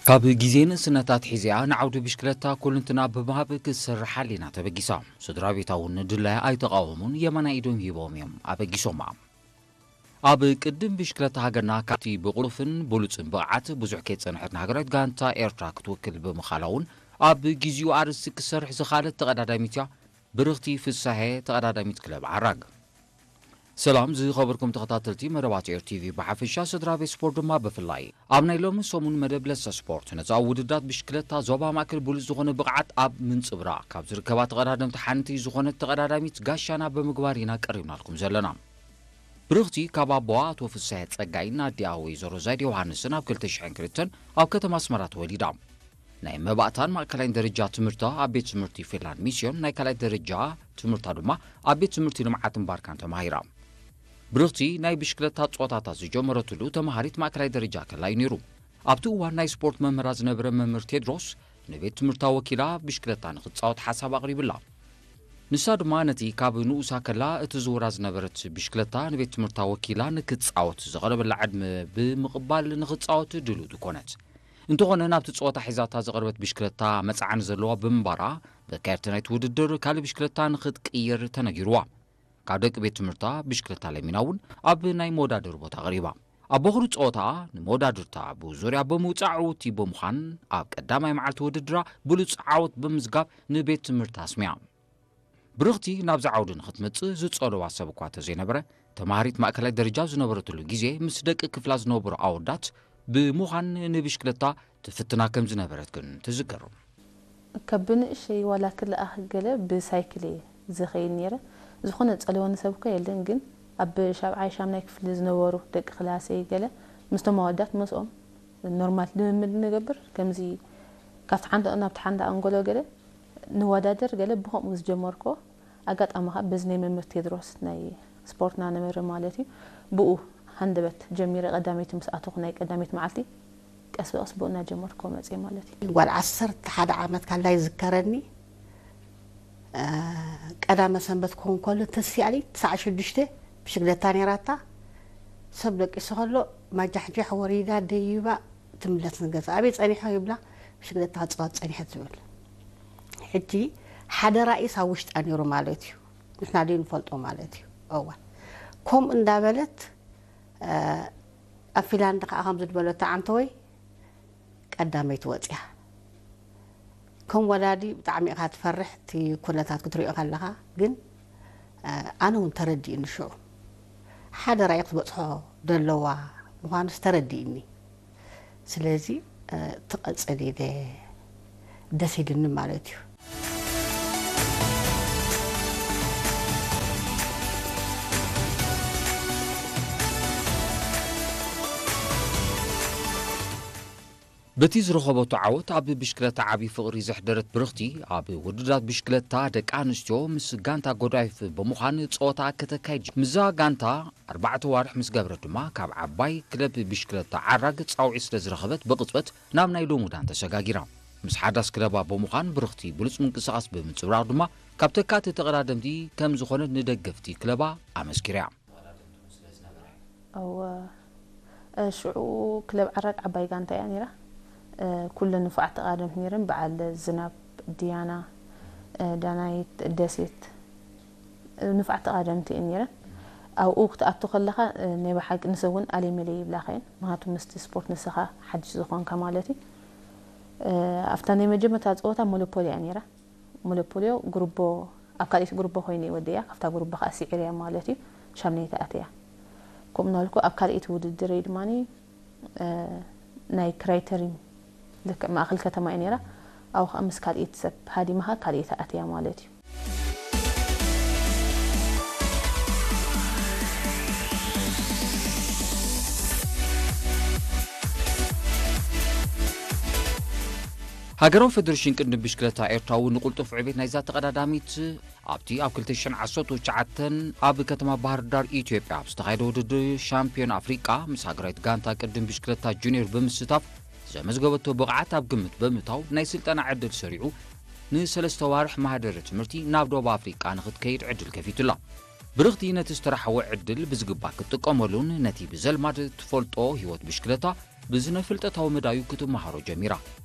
ካብ ግዜ ንእስነታ ኣትሒዛ ንዓውዲ ብሽክለታ ኩልንትና ብምሃብ ክትሰርሕ ኣሊና ተበጊሳ። ስድራ ቤታ እውን ድላያ ኣይተቓወሙን፣ የማናይ ኢዶም ሂቦም እዮም ኣበጊሶማ። ኣብ ቅድም ብሽክለታ ሃገርና ካብቲ ብቕሉፍን ብሉጽን ብቕዓት ብዙሕ ከይጸንሐት ንሃገራዊት ጋንታ ኤርትራ ክትውክል ብምኻላ እውን ኣብ ግዚኡ ኣርእስቲ ክትሰርሕ ዝኻለት ተቐዳዳሚት እያ። ብርኽቲ ፍሳሄ፣ ተቐዳዳሚት ክለብ ዓራግ። ሰላም ዝኸበርኩም ተኸታተልቲ መደባት ኤር ቲቪ ብሓፈሻ፣ ስድራ ቤት ስፖርት ድማ ብፍላይ። ኣብ ናይ ሎሚ ሰሙን መደብ ለሰ ስፖርት ነዛ ኣብ ውድድራት ብሽክለታ ዞባ ማእከል ብሉጽ ዝኾነ ብቕዓት ኣብ ምንጽብራቕ ካብ ዝርከባ ተቐዳደምቲ ሓንቲ ዝኾነት ተቐዳዳሚት ጋሻና ብምግባር ኢና ቀሪብናልኩም ዘለና። ብርኽቲ ካብ ኣቦኣ ኣቶ ፍሳሄ ጸጋይን ኣዲኣ ወይዘሮ ዛይድ ዮሃንስን ኣብ ክልተ ሽሕን ክልተን ኣብ ከተማ ኣስመራ ተወሊዳ። ናይ መባእታን ማእከላይን ደረጃ ትምህርታ ኣብ ቤት ትምህርቲ ፊንላንድ ሚስዮን፣ ናይ ካልኣይ ደረጃ ትምህርታ ድማ ኣብ ቤት ትምህርቲ ልምዓትን ባርካን ተማሂራ። ብርኽቲ ናይ ብሽክለታ ጸወታታት ዝጀመረትሉ ተማሃሪት ማእከላይ ደረጃ ከላ እዩ ነይሩ። ኣብቲ እዋን ናይ ስፖርት መምህራ ዝነበረ መምህር ቴድሮስ ንቤት ትምህርታ ወኪላ ብሽክለታ ንኽትጻወት ሓሳብ ኣቕሪብላ። ንሳ ድማ ነቲ ካብ ንኡሳ ከላ እትዝውራ ዝነበረት ብሽክለታ ንቤት ትምህርታ ወኪላ ንክትጻወት ዝቐረበላ ዕድመ ብምቕባል ንኽትጻወት ድልውቲ ኮነት። እንተኾነ ናብቲ ጸወታ ሒዛታ ዝቐረበት ብሽክለታ መጽዓኒ ዘለዋ ብምንባራ፣ በካየርቲ ናይቲ ውድድር ካልእ ብሽክለታ ንኽትቅይር ተነጊርዋ። ካብ ደቂ ቤት ትምህርታ ብሽክለታ ለሚና እውን ኣብ ናይ መወዳደሪ ቦታ ቀሪባ። ኣብ ቦኽሪ ጸወታ ንመወዳድርታ ብዙርያ ብምውጻእ ዕውቲ ብምዃን ኣብ ቀዳማይ መዓልቲ ውድድራ ብሉጽ ዓወት ብምዝጋብ ንቤት ትምህርታ ኣስሚያ። ብርኽቲ ናብዚ ዓውዲ ንኽትመጽእ ዝጸልዋ ሰብ እኳ ተዘይነበረ፣ ተማሃሪት ማእከላይ ደረጃ ዝነበረትሉ ግዜ ምስ ደቂ ክፍላ ዝነበሩ ኣወዳት ብምዃን ንብሽክለታ ትፍትና ከም ዝነበረት ግን ትዝክር። ካብ ብንእሸይ ዋላ ክለኣኽ ገለ ብሳይክል እየ ዝኸይድ ነይረ። ዝኾነ ዝጸልወኒ ሰብ እኳ የለን፣ ግን ኣብ ሻብዓይ ሻምናይ ክፍሊ ዝነበሩ ደቂ ክላሰይ ገለ ምስቶም ኣወዳት ምስኦም ኖርማል ልምምድ ንገብር። ከምዚ ካብቲ ሓንቲ ናብቲ ሓንቲ ኣንጎሎ ገለ ንወዳደር ገለ ብኸምኡ ዝጀመርኩዎ። ኣጋጣሚ ኸኣ በዚ ናይ መምህር ቴድሮስ ናይ ስፖርትና ነበረ ማለት እዩ። ብኡ ሃንደበት ጀሚረ ቀዳመይቲ ምስ ኣተኹ ናይ ቀዳመይቲ መዓልቲ ቀስ ብቐስ ብኡ እናጀመርኩ መጽየ ማለት እዩ። ጓል ዓሰርተ ሓደ ዓመት ካላ ይዝከረኒ። እ፣ ቀዳመ ሰንበት ክኸውን ከሎ ተሲኣሊ ትስዓ ሽዱሽተ ብሽግለታ ነይራታ። ሰብ ደቂሱ ከሎ ማጃሕጃሕ ወሪዳ ደይባ ትምለስ ንገዛ። ኣበይ ጸኒሖ ይብላ፣ ብሽግለታ ክጻወት ጸኒሐ ትብል። ሕጂ ሓደ ራእይስ ኣብ ውሽጣ ነይሩ ማለት እዩ። ንሕና ደይ ንፈልጦ ማለት እዩ። እዋ። ከምኡ እንዳበለት፣ እ፣ ኣብ ፊንላንድ ከኣ ከምዚ ዝበለቶ፣ ኣንተ ወይ ቀዳመይቲ ወጽያ። ከም ወላዲ ብጣዕሚ ኢኻ ትፈርሕ፣ እቲ ኩነታት ክትሪኦ ከለኻ። ግን፣ እ፣ ኣነ እውን ተረዲእኒ ሽዑ። ሓደ ራእይ ክትበጽሖ ደለዋ ምዃኑስ ተረዲእኒ። ስለዚ፣ እ፣ ትቐጽል ኢለ ደስ ኢልኒ ማለት እዩ። በቲ ዝረኸበቶ ዓወት ኣብ ብሽክለታ ዓቢ ፍቕሪ ዘሕደረት ብርኽቲ፣ ኣብ ውድድራት ብሽክለታ ደቂ ኣንስትዮ ምስ ጋንታ ጎዳይፍ ብምዃን ጸወታ ከተካይድ ጀ-፣ ምስዛ ጋንታ ኣርባዕተ ዋርሕ ምስ ገበረት ድማ፣ ካብ ዓባይ ክለብ ብሽክለታ ዓራግ ጻውዒት ስለ ዝረኸበት፣ ብቕጽበት ናብ ናይ ልሙዳን ተሰጋጊራ። ምስ ሓዳስ ክለባ ብምዃን ብርኽቲ ብሉጽ ምንቅስቓስ ብምንጽብራቕ ድማ፣ ካብ ተካእቲ ተቐዳደምቲ ከም ዝኾነት ንደገፍቲ ክለባ ኣመስኪራ። እወ፣ እ፣ ሽዑ ክለብ ዓራግ ዓባይ ጋንታ እያ ነይራ። እ፣ ኩለን ንፉዓት ተቓደምቲ ነይረን። በዓል ዝናብ፣ ዲያና፣ እ፣ ዳናይት፣ ደሴት፣ እ፣ ንፉዓት ተቓደምቲ እየን ነይረን። ኣብኡ ክትኣቱ ከለኻ፣ እ፣ ናይ ብሓቂ ንሰብ እውን ኣሌመሌ ይብላኻ እየን። ምኽንያቱ ምስቲ ስፖርት ንስኻ ሓድሽ ዝኾንካ ማለት እዩ። እ፣ ኣብታ ናይ መጀመርታ ፀወታ ሞኖፖሊ እያ ነይራ። ሞኖፖልዮ ጉርቦ፣ ኣብ ካልኣይቲ ጉርቦ ኮይነ እየ ወዲእያ፣ ካብታ ጉርቦ ከዓ ስዒረያ ማለት እዩ። ሻምናይቲ ኣትያ። ከምኡ እናበልኩ ኣብ ካልኣይቲ ውድድረይ ድማ፣ እ፣ ናይ ክራይተሪን ልክዕ ማእኸል ከተማ እየ ነይራ። ኣብኡ ከዓ ምስ ካልኣይቲ ሰብ ሃዲማ ከዓ ካልኣይቲ ኣትያ ማለት እዩ። ሃገራዊ ፌደሬሽን ቅድድም ብሽክለታ ኤርትራ እውን ንቕልጡፍ ዕቤት ናይዛ ተቐዳዳሚት ኣብቲ ኣብ ክልተ ሽሕን ዓሰርተ ትሽዓተን ኣብ ከተማ ባህር ዳር ኢትዮጵያ ኣብ ዝተኻየደ ውድድር ሻምፒዮን ኣፍሪቃ ምስ ሃገራዊት ጋንታ ቅድድም ብሽክለታ ጁኒየር ብምስታፍ ዘመዝገበቶ ብቕዓት ኣብ ግምት ብምእታው ናይ ስልጠና ዕድል ሰሪዑ ንሰለስተ ዋርሕ ማህደረ ትምህርቲ ናብ ደቡብ ኣፍሪቃ ንኽትከይድ ዕድል ከፊቱላ። ብርኽቲ ነቲ ዝተረሓወ ዕድል ብዝግባእ ክትጥቀመሉን ነቲ ብዘልማድ ትፈልጦ ህይወት ብሽክለታ ብዝነ ፍልጠታዊ መዳዩ ክትመሃሮ ጀሚራ።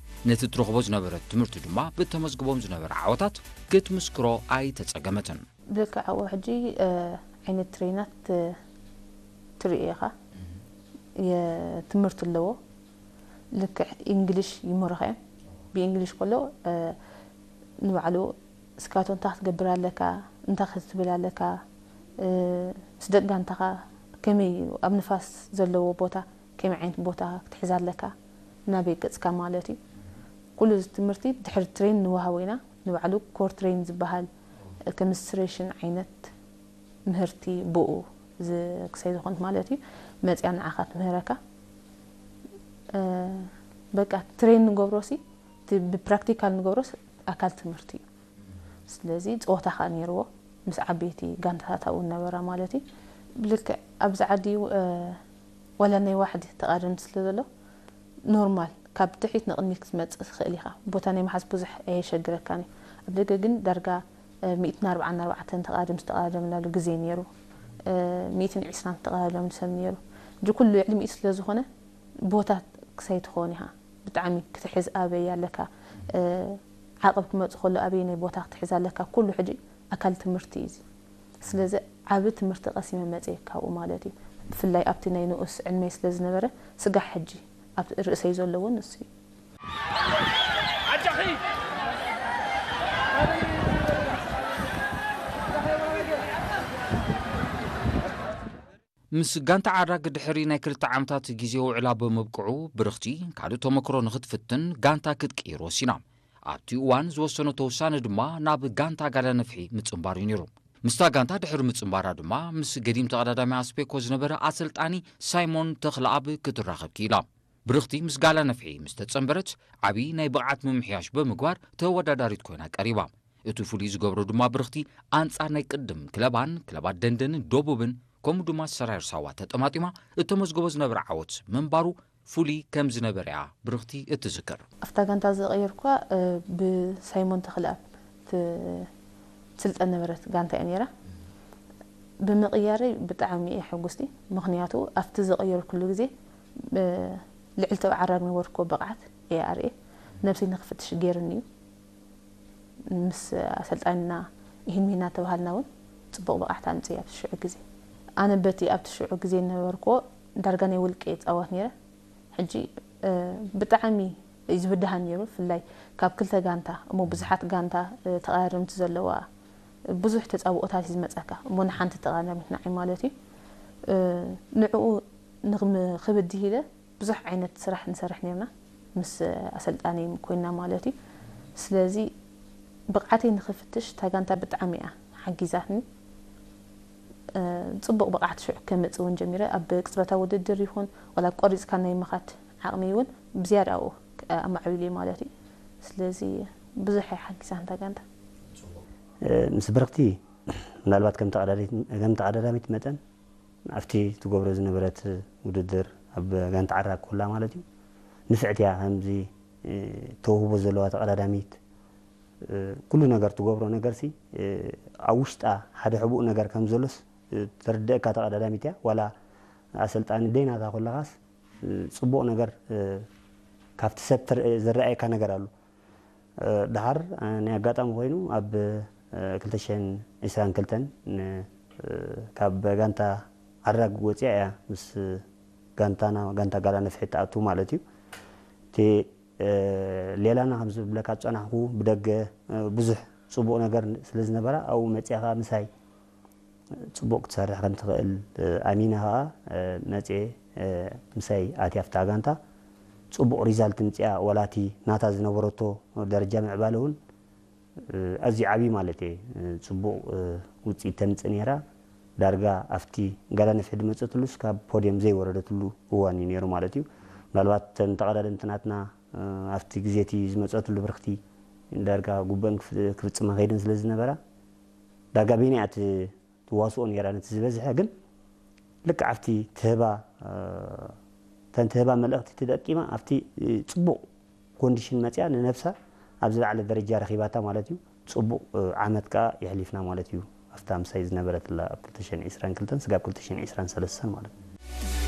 ነቲ ትረኽቦ ዝነበረት ትምህርቲ ድማ ብእተመዝግቦም ዝነበረ ዓወታት ክትምስክሮ ኣይተጸገመትን። ብልክዕ ኣብኡ ሕጂ፣ እ፣ ዓይነት ትሬናት፣ እ፣ ትርኢ ኢኻ። የትምህርቲ ኣለዎ። ልክዕ ኢንግሊሽ ይመሩኻ እዮም። ብኢንግሊሽ ከሎ፣ እ፣ ንባዕሉ ስካቶ እንታይ ክትገብር ኣለካ፣ እንታይ ክትብል ኣለካ፣ እ፣ ምስ ደቂ ጋንታኻ ከመይ እዩ ኣብ ንፋስ ዘለዎ ቦታ፣ ከመይ ዓይነት ቦታ ክትሕዝ ኣለካ፣ ናበይ ገጽካ ማለት እዩ። ኩሉ እዚ ትምህርቲ ድሕሪ ትሬን ንወሃቦ ኢና። ንባዕሉ ኮር ትሬን ዝበሃል ከሚስትሬሽን ዓይነት ምህርቲ ብኡ ዝ-፣ ክሳይ ዝኾንት ማለት እዩ፣ መጽያ ንዓኻ ትምህረካ። እ፣ በቃ ትሬን ንገብሮሲ፣ እቲ ብፕራክቲካል ንገብሮስ ኣካል ትምህርቲ እዩ። ስለዚ ጸወታ ከኣ ነይርዎ፣ ምስ ዓበይቲ ጋንታታት ኣብኡ ነበራ ማለት እዩ። ብልክዕ ኣብዚ ዓዲ፣ እ፣ ዋላ ናይ ዋሕዲ ተቓደምቲ ስለ ዘሎ፣ ኖርማል ካብ ድሕሪት ንቕድሚት ክትመጽእ ትኽእል ኢኻ። ቦታ ናይ ምሓዝ ብዙሕ ኣየሸግረካን እዩ። ኣብ ደገ ግን ዳርጋ፣ እ፣ ሚእትን ኣርባዓን ኣርባዕተን ተቓደምቲ ዝተቓደምናሉ ግዜ ነይሩ። እ፣ ሚእትን ዕስራን ዝተቓደምሉ ሰብ ነይሩ። ሕጂ ኩሉ ልዕሊ ሚእቲ ስለ ዝኾነ፣ ቦታ ክሳይ ትኸውን ኢኻ። ብጣዕሚ ክትሕዝ ኣበይ ኣለካ፣ እ፣ ዓቐብ ክመጽእ ከሎ ኣበየናይ ቦታ ክትሕዝ ኣለካ፣ ኩሉ ሕጂ ኣካል ትምህርቲ እዩ እዚ። ስለዚ ዓቢ ትምህርቲ ቀሲመ መጽየ ካብኡ ማለት እዩ። ብፍላይ ኣብቲ ናይ ንኡስ ዕድመይ ስለ ዝነበረ፣ ስጋዕ ሕጂ ኣብ ርእሰይ ዘሎ እውን ንሱ እዩ። ምስ ጋንታ ዓራግ ድሕሪ ናይ ክልተ ዓመታት ግዜ ውዕላ ብምብቅዑ፣ ብርኽቲ ካልእ ተመክሮ ንኽትፍትን ጋንታ ክትቅይር ወሲና። ኣብቲ እዋን ዝወሰነቶ ውሳነ ድማ ናብ ጋንታ ጋላ ነፍሒ ምጽንባር እዩ ነይሩ። ምስታ ጋንታ ድሕሪ ምጽንባራ ድማ ምስ ገዲም ተቐዳዳሚ ኣስፔኮ ዝነበረ ኣሰልጣኒ ሳይሞን ተኽለኣብ ክትራኸብ ክኢላ። ብርኽቲ ምስ ጋላ ነፍሒ ምስ ተጸንበረት ዓቢ ናይ ብቕዓት ምምሕያሽ ብምግባር ተወዳዳሪት ኮይና ቀሪባ። እቲ ፍሉይ ዝገብሮ ድማ ብርኽቲ ኣንጻር ናይ ቅድም ክለባን ክለባት ደንደንን ደቡብን ከምኡ ድማ ሰራየር ሳዋ ተጠማጢማ እተመዝገቦ ዝነበረ ዓወት ምንባሩ ፍሉይ ከም ዝነበረ እያ ብርኽቲ እትዝክር። ኣብታ ጋንታ ዝቐየርኳ፣ እ፣ ብሳይሞን ተኽለኣብ ት-፣ ትስልጠን ነበረት ጋንታ እያ ነይራ። ብምቕያረይ ብጣዕሚ እየ ሕጉስቲ፣ ምኽንያቱ ኣብቲ ዝቐየርኩሉ ግዜ፣ እ፣ ልዕሊ ተባዕ ዓራግ ነበርኩ ብቕዓት እየ ኣርኤ፣ ነብሰይ ንኽፍትሽ ገይርኒ እዩ። ምስ ኣሰልጣኒና ይህን ሚና ተባሃልና እውን ጽቡቕ ብቕዓት ኣምጽእ ኣብቲ ሽዑ ግዜ። ኣነ በቲ ኣብቲ ሽዑ ግዜ ነበርክዎ ዳርጋ ናይ ውልቂ እጻወት ነይረ። ሕጂ፣ እ፣ ብጣዕሚ እዩ ዝብድሃ ነይሩ፣ ብፍላይ ካብ ክልተ ጋንታ እሞ ብዙሓት ጋንታ፣ እ፣ ተቐዳደምቲ ዘለዋ ብዙሕ ተጻብኦታት እዩ ዝመጸካ እሞ ንሓንቲ ተቐዳዳሚት ንዓይ ማለት እዩ። እ፣ ንዕኡ ንኽም-፣ ክብድህ ኢለ ብዙሕ ዓይነት ስራሕ ንሰርሕ ነርና ምስ ኣሰልጣኒ ኮይና ማለት እዩ። ስለዚ ብቕዓተይ ንኽፍትሽ እታ ጋንታ ብጣዕሚ እያ ሓጊዛትኒ። እ፣ ጽቡቕ ብቕዓት ሽዑ ከምጽእ እውን ጀሚረ። ኣብ ቅጽበታዊ ውድድር ይኹን ዋላ ቆሪጽካ ናይ ምኻድ ዓቕሚ እውን ብዝያዳ ኣብኡ ኣማዕቢሉ ማለት እዩ። ስለዚ ብዙሕ እያ ሓጊዛትኒ እታ ጋንታ። እ፣ ምስ ብርኽቲ ምናልባት ከም ተቐዳዳሚት፣ ከም ተቐዳዳሚት መጠን ኣብቲ ትገብሮ ዝነበረት ውድድር ኣብ ጋንታ ዓራግ ኮላ ማለት እዩ፣ ንፍዕቲ እያ። ከምዚ፣ እ፣ ተውህቦ ዘለዋ ተቐዳዳሚት፣ እ፣ ኩሉ ነገር ትገብሮ ነገርሲ፣ እ፣ ኣብ ውሽጣ ሓደ ሕቡእ ነገር ከም ዘሎስ፣ እ፣ ተርድአካ ተቐዳዳሚት እያ። ዋላ ኣሰልጣኒ ደይናታ ኮለኻስ፣ እ፣ ጽቡቕ ነገር፣ እ፣ ካብቲ ሰብ ትር-፣ ዝረኣየካ ነገር ኣሎ። እ፣ ደሓር፣ እ፣ ናይ ኣጋጣሚ ኮይኑ ኣብ፣ እ፣ ክልተ ሽሕን ዕስራን ክልተን ን-፣ እ፣ ካብ ጋንታ ዓራግ ወፂኣ እያ ምስ ጋንታና፣ ጋንታ ጋላ ነፍሒ ትኣቱ ማለት እዩ። እቲ፣ እ፣ ሌላና ከም ዝብለካ ዝፀናሕኩ ብደገ፣ እ፣ ብዙሕ ፅቡቕ ነገር ስለ ዝነበራ ኣብኡ መፂኣ ከዓ ምሳይ ፅቡቕ ክትሰርሕ ከም ትኽእል፣ እ፣ ኣሚነ ኸዓ፣ እ፣ መፅየ፣ እ፣ ምሳይ ኣትያ ኣብታ ጋንታ። ፅቡቕ ሪዛልት ምፅያ፣ ወላ እቲ ናታ ዝነበረቶ ደረጃ ምዕባለ እውን፣ እ፣ ኣዝዩ ዓብዪ ማለት እየ። እ፣ ፅቡቕ፣ እ፣ ውፅኢት ተምፅእ ነይራ። ዳርጋ ኣብቲ ጋላ ነፍሒ ዝመፀትሉስ ካብ ፖድየም ዘይወረደትሉ እዋን እዩ ነይሩ ማለት እዩ። ምናልባት እተን ተቐዳደምቲ ናትና፣ እ፣ ኣብቲ ግዜ እቲ ዝመፀትሉ ብርኽቲ ዳርጋ ጉበን ክፍ-፣ ክፍፅማ ከይደን ስለ ዝነበራ ዳርጋ በይና እያ ት-፣ ትዋስኦ ነይራ ነቲ ዝበዝሐ። ግን ልክዕ ኣብቲ ትህባ፣ እ፣ እተን ትህባ መልእኽቲ ተጠቂማ ኣብቲ፣ እ፣ ጽቡቕ ኮንዲሽን መጽያ ንነብሳ ኣብ ዝለዓለ ደረጃ ረኺባታ ማለት እዩ። ጽቡቕ፣ እ፣ ዓመት ከኣ የሕሊፍና ማለት እዩ። ኣብታ ምሳይ ዝነበረትላ ኣብ ክልተ ሽሕን ዕስራን ክልተን ስጋብ ክልተ ሽሕን ዕስራን ሰለስተን ማለት እዩ።